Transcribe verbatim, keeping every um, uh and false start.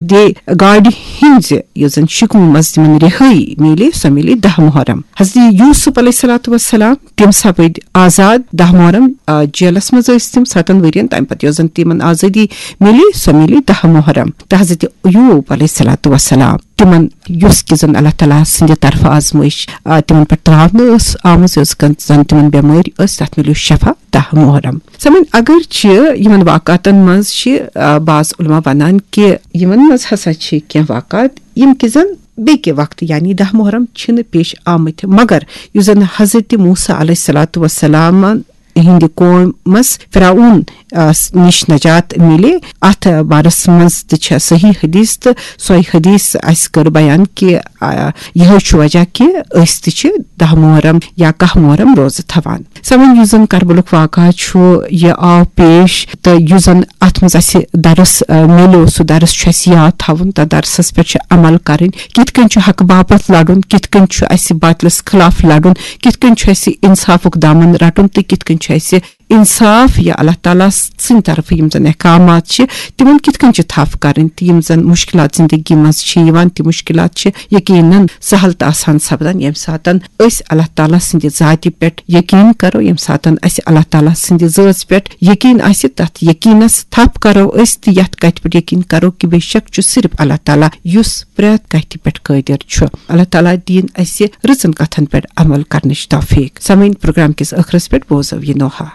دِ گاڑِ ہٕنٛزِ یۄس زن شِکمہٕ منٛز تِمن رِہٲیی میلے، سۄ میلے دَہ محرم۔ حضرت یوسف علیہ الصلوۃ والسلام، تِم سپٕدۍ آزاد دَہ محرم، آ، جیلس منٛز ٲسۍ تِم ستن ؤرین۔ تمہِ پتہٕ یۄس زن تِمن آزٲدی میلے، سۄ میلے دَہ محرم۔ تہٕ حضرت ایوب علیہ الصلوۃ والسلام، تِمن یۄس کہِ زن اللہ تعالیٰ سٕنٛدِ طرفہٕ آزمٲیش، آ، تِمن پٮ۪ٹھ تراونہٕ ٲس آمٕژ، یۄس کن-، زن تِمن بٮ۪مٲرۍ ٲس، تتھ میلیو شفا دَہ محرم۔ سمن، اگر چھِ یِمن واقعاتن منٛز چھِ، آ، بعض علماء ونان کہِ یِمن منٛز ہسا چھِ کینٛہہ واقعات، یِم کہِ زن بیٚکہِ وقتہٕ، یعنی دَہ محرم، چھِنہٕ پیش آمٕتۍ، مگر یُس زن حضرت موسیٰ علیہ الصلوۃ والسلامن ہٕنٛدِ قومس فرعون، آ، س-، نِش نجات میلے، اتھ بارس منٛز تہِ چھےٚ صحیح حدیث، تہٕ سۄے حدیث اسہِ کٔر بیان کہِ، آ، یِہوٚے چھُ وجہ کہِ أسۍ تہِ چھِ دَہ محرم یا کاہ محرم روزٕ تھاوان۔ سمن، یُس زن کربلُک واقعہ چھُ، یہِ آو پیش، تہٕ یُس زن اتھ منٛز اسہِ درس، آ، میلیو، سُہ درس چھُ اسہِ یاد تھاوُن، تہٕ درسس پٮ۪ٹھ چھِ عمل کرٕنۍ۔ کِتھ کٔنۍ چھُ حق باپتھ لڑُن، کِتھ کٔنۍ چھُ اسہِ باطلس خلاف لڑُن، کِتھ کٔنۍ چھُ اسہِ انصافُک دامن رٹُن، تہٕ کِتھ کٔنۍ چھُ اسہِ انصاف یا اللہ تعالیٰ سٕنٛدِ طرفہٕ یِم زن احکامات چھِ، تِمن کِتھ کٔنۍ چھِ تھپھ کرٕنۍ، تہٕ یِم زن مشکلات زندگی منٛز چھِ یِوان، تِم مشکلات چھِ یقیناً سہل تہٕ آسان سپدان، ییٚمہِ ساتن أسۍ اللہ تعالیٰ سٕنٛدِ ذاتہِ پٮ۪ٹھ یقین کرو، ییٚمہِ ساتن اسہِ اللہ تعالیٰ سٕنٛدِ ذٲژ پٮ۪ٹھ یقین آسہِ، تتھ یقینس تھپھ کرو أسۍ، تہٕ یتھ کتھِ پٮ۪ٹھ یقین کرو کہِ بے شک چھُ صرف اللہ تعالیٰ، یُس پرٛٮ۪تھ کتھِ پٮ۪ٹھ قٲدر چھُ۔ اللہ تعالیٰ دِیِن اسہِ رٕژن کتھن پٮ۪ٹھ عمل کرنٕچ توفیق۔ سمعین، پروگرام کِس ٲخرس پٮ۪ٹھ بوزو یہِ نوحہ۔